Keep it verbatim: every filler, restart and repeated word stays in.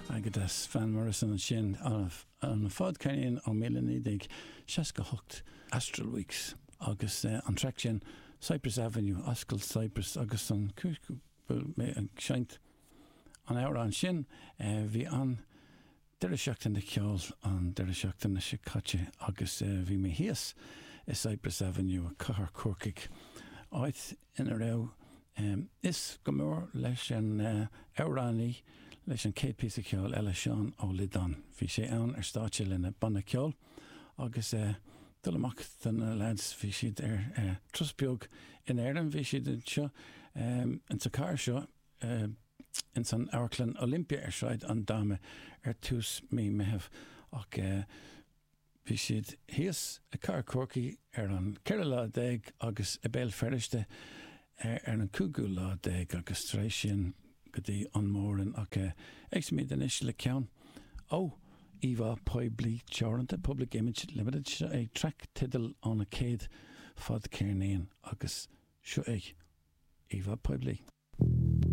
Agus Van Morrison ansin an fadcheirnín ó míle naoi déag seasca hocht Astral Weeks agus uh, an track sin Cypress Avenue Ascaill Cypress agus an chúis mé ag seinnt an amhrán sin uh, bhí an deireadh seachtaine ceoil an deireadh seachtaine seo caite agus uh, bhí mé thíos i Cypress Avenue Cathair Chorcaí áit ina raibh um, is go mór leis an uh, amhránaí leis an chéad píosa ceoil eile Seán Ó Loideáin. Bhí sé ann ar stáitse lena banna ceoil agus uh, dul amach den na lads bhí siad ar uh, turas beag in Éirinn bhí siad seo um, in sa chathair seo uh, in san Amharclann Olympia ar Sráid an Dáma ar tús mí Mheithimh ach uh, bhí siad thíos i gCathair Chorcaí ar an ceathrú lá déag agus i Béal Feirste ar, ar an cúigiú lá déag agus tar éis sin go dtí an Mór-Roinn ach éistfimid anois le ceann ó Íomhá Poiblí Teoranta Public Image Limited seo é traic teideal an a céad fadcheirnín agus seo é Íomhá Poiblí.